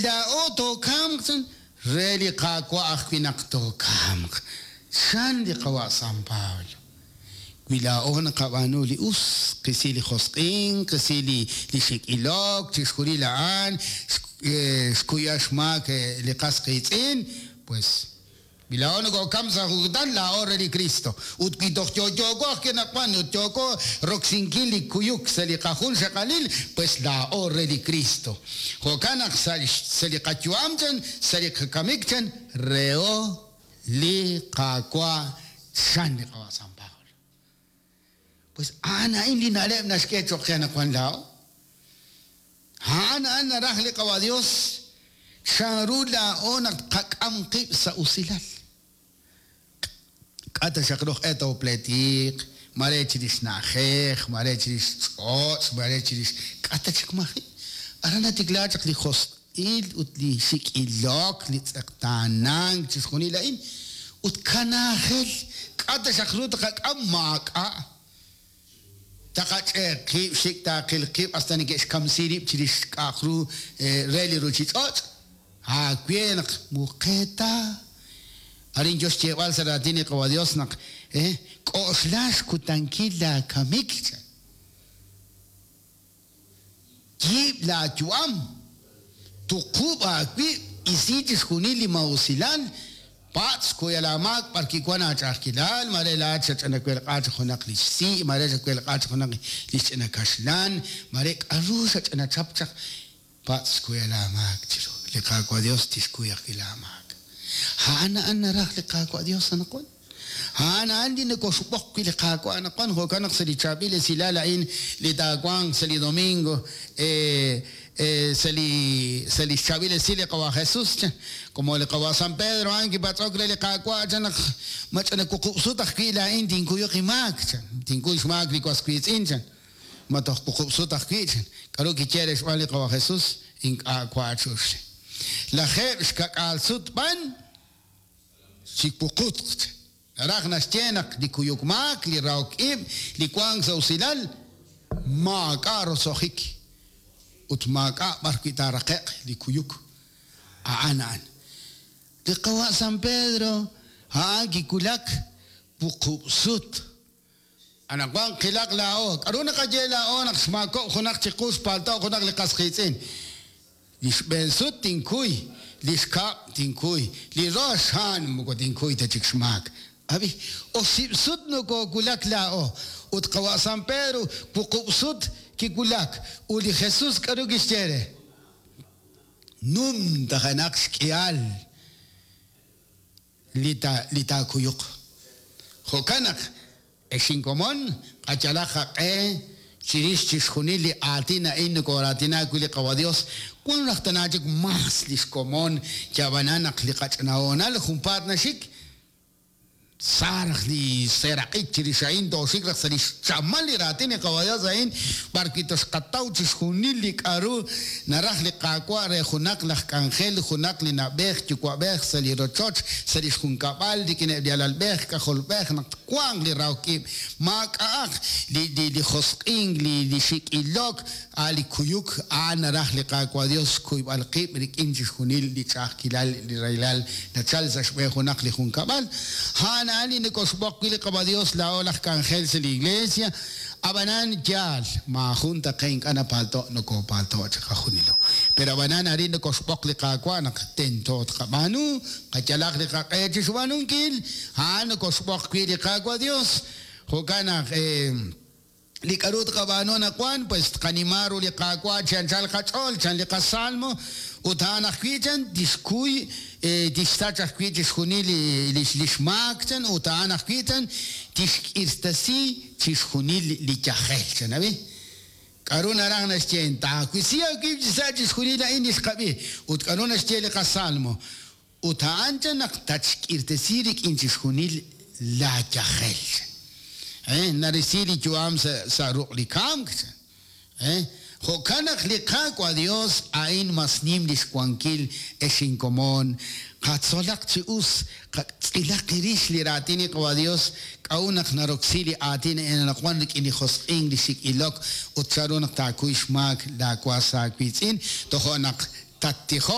laa'o tookamq chan, re li Qaawa' ajwi' naq tookamq, chan li qawa' San Pablo. Wi laa'o naqab'aanu li us, qisi li josq'ink, qisi li li xik' ilok, chixjunil a'an, xkuya xmaak li qas qiitz'in, pues wi laa'o nokookamk sa' jun kutan, laa'o re li Kristo. Ut wi toj yo'yooko ajwi' anaqwan ut yooko roksinkil li kuyuk sa' li qajunxaqalil, pues laa'o re li Kristo. Jo'kan naq sa' li qayu'am chan, sa' li qakamik chan, reho li Qaawa' chan li qawa' San Pablo. Pues a'an a'in li na'leb' naxk'e cho'q qe anaqwan laa'o. A'an a'an naraj li Qawa' Dios chanru laa'o naq tqak'am qib' sa' usilal. K'a' ta xaq ru q'e toopleetiq, mare chirix na'ajej, mare chirix ch'och', mare chirix k'a' ta chik maji'. Aran natikla chaq li josq'il ut li xik' ilok, li tz'eqtaanank, chixjunil a'in. Ut kanaajel, k'a' ta xaq ru tqak'am, maak'a'. Taqach'e' qib', xik' taaqil qib' hasta neke'xkamsi rib' chirix k'a'aq ru re li ruchich'och'. Aawe naq muqeeta. Arin yo xyeeb'al sa' raatin li Qawa' Dios naq k'oxla xkutankil laakamik, chan. Yiib' laayu'am, tuqub' aawib', isi chixjunil li maa'usilal, patz' xkuy laamaak b'arwi' wank aach'a'ajkilal, maare laa'at xach'ina welq'a chaq junaq li xsi', maare xawelq'a chaq junaq li xch'ina kaxlan, maare k'aru xach'ina chap chaq, patz' xkuy laamaak chiru li Qaawa' Yos, tixkuy ajwi' laamaak. A'an a'an naraj li Qaawa' Yos anaqwan. A'an a'an li nokoxb'oq wi' li Qaawa' anaqwan, jo'kan naq sa' li chaab'il esilal a'in li taawanq sa' li domingo, sa' li sa' lix chaab'il esil li Qawa' Jesus, chan, como li Qawa' San Pedro a'an kipatz'ok re li Qaawa', chan naq ma ch'ina wuqub' sut ajwi' laa'in tinkuyuq inmaak, chan, tinkuy xmaak li was wiitz'in, chan, ma toj wuqub' sut ajwi', chan. K'a'ru kiye re xb'aan li Qawa' Jesus? Ink'a' wa' chuxli. 70 sut b'an. Chi wuqutq. Naraj naxye naq li kuyuk maak, li rahok ib', li wank sa' usilal, maak'a' roso'jik ut maak'a' b'ar wi' taaraqe'q li kuyuk. A'an a'an. Li qawa' San Pedro a'an kiwulak wuqub' sut. Anaqwan qilaq laa'o. K'aru naqaye laa'o naq xmaakob'k junaq chiqu xpalto'k junaq li qas qiitz'in? Li xb'een sut tinkuy, li xkab' tinkuy, li rox a'an moko tinkuy ta chik xmaak. Ab'i, oxib' sut nokoowulak laa'o. Ut qawa' San Pedro wuqub' sut kiwulak. Ut li Jesús k'aru kixye re? Numtajenaq xk'ihal li taakuyuq. Jo'kan naq, ex inkomon, qayalaq qaq'e chirix chixjunil li aatin a'in nokooraatina wi' li Qawa' Dios, wan raj tana chik mas lix komon, yab'anan naq li qach'ina hoonal junpaat naxik, Sa raj li seeraq'ik chirix a'in, tooxik raj sa' li xchamal li raatin li Qawa' Yos a'in, b'arwi' toxqataw chixjunil li k'aru naraj li Qaawa' re junaq laj k'anjel, junaq li na'b'ej yuwa'b'ej sa' li rochoch, sa' li xjunkab'al, rik'ineb' li alalb'ej k'ajolb'ej naq twanq li rahok ib', maak'a'aq li li josq'ink, li xik' ilok, A' li kuyuk, a'an naraj li Qaawa' Dios xkuyb'al qib' rik'in chixjunil li ch'a'ajkilal, li rahilal nachal sa' xb'een junaq li junkab'al. A'an a'an li nokoxb'oq wi' li Qawa' Dios laa'o laj k'anjel sa' li Iglesia. A'b'anan, yaal, maajun ta qe ink'a' napalto', nokopalto' chiqajunilo. Pero a'b'anan arin nokoxb'oq li Qaawa' naq tento tqab'aanu, qayalaq li qaq'e chixb'aanunkil. A'an nokoxb'oq wi' li Qaawa' Dios. Jo'kan naq, Li k'a'ru tqab'aanu anaqwan, pues tqanima ru li Qaawa' chi anchal qach'ool, chan li qasalmo, ut a'an ajwi' chan tixkuy, tixsach ajwi' chixjunil li xmaak, chan, ut a'an ajwi' chan tixk'irtasi chixjunil li yajel, chan. Ab'i, k'a'ru naraj naxye, taawisi aawib' chi sa' chixjunil a'in li xqab'i, ut k'a'ru naxye li qasalmo, Ut a'an chan naq tatxk'irtesi rik'in chixjunil laa yajel, chan. Narisi li yu'am sa' ruq' li kamk, chan. Jo'kan naq li Qaawa' Dios a'in mas nim lix wankil, ex inkomon, qatzolaq chi us, qatz'ilaq rix li raatin li Qawa' Dios, k'a'ut naq naroksi li aatin a'in anaqwan rik'in li josq'ink, li xik' ilok, ut chanru naq taakuy xmaak laa was aawiitz'in, tojo' naq tattijoq.